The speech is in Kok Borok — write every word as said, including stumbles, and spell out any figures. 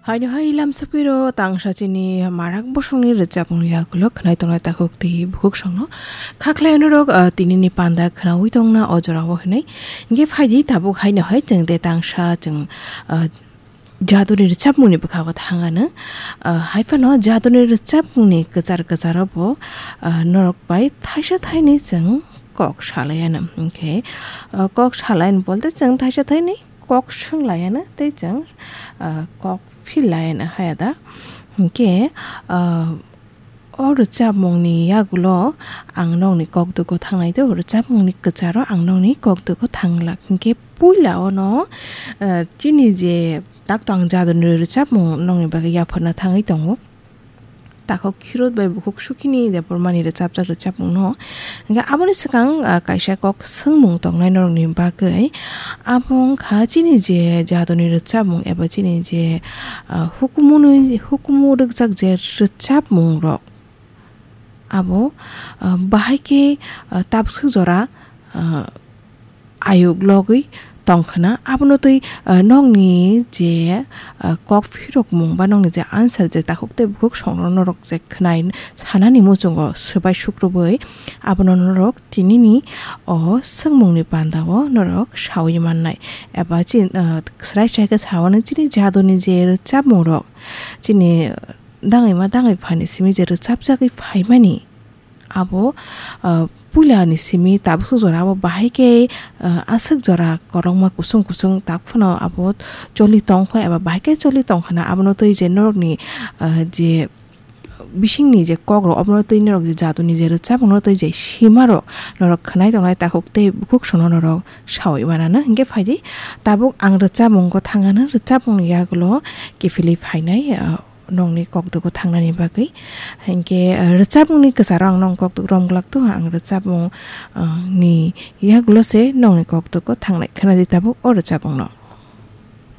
Haino hai lamsapiro tangsa chini marak bosongni rwchapmung yagulo khwnai tongnai takhuk tei bukhuk songno. Khaklai norok, ah, tinini panda khwnaui tongna o jorao hinwi. Hingke phaidi tabuk haino hai chwng de tangsa chwng, ah, jaduni rwchapmungni bwkhago thangano. Ah, hai phano jaduni rwchapmungni kwchar kwcharo bo, ah, norok bai thaisa thaini chwng kok salaiano. Hingke, ah, kok salaian bolte chwng thaisa thaini kok swnglaiano tei chwng, ah, kok phillaiano hai ada. Hingke, ah, o rwchapmungni yagulo ang nokni kok dugo thangnai tei o rwchapmungni kwcharo ang nokni kok dugo thanglak. Hingke puila ono, ah, chini je takto ang jaduni rwchapmung nokni bagwi yapharna thangwi tongo. Takhuk Khirot bai bukhuk Sukhini Debbarmani rwchapjak rwchapmungno. Hingke aboni swkang, ah, kaisa kok swngmung tongnai norokni bagwi. Abo wngkha chini je jadoni rwchapmung eba chini je, ah, hukumunwi, hukumu rwkjak je rwchapmungrok. Abo, ah, bahai khe, ah, tabswk jora, ah, ayuk logwi tongkhwna. Abono twi, ah, nokni je, ah, kok phirokmung ba nokni je answer je takhuk tei bukhuk songno norok je khwnai sanani muchungo swbai sukrubwi abono norok tinini o swngmungni pandao norok saui mannai. Eba chin-, ah, srai srai khe saui mano chini jadoni je rwchapmungrok chini dangwi ma dangwi phani simi je rwchapjagwi phaimani. Abo, ah, puila ni simi tabuk jora abo bahai khe, ah, aswk jora kwrwngma kusung kusung tak phano abo choli tongkha eba bahai khe choli tongkhana abono twi je norokni, ah, je bisingni je kokrok obono twi norok je jaduni je rwchapmungno twi je simarok norok khwnai tongnai takhuk tei bukhuk songno norok saui manano. Hingke phaidi tabuk ang rwchapmungo thangano, rwchapmungni yagulo kiphilwi phainai, ah, nokni kokdugo thangnani bagwi. Hinkhe, ah, rwchapmungni kwcharo ang nokni kokduk romglak to, ang rwchapmung, ah, ni yagulo se nokni kokdugo thangnai. Khwnadi tabuk o rwchapmungno.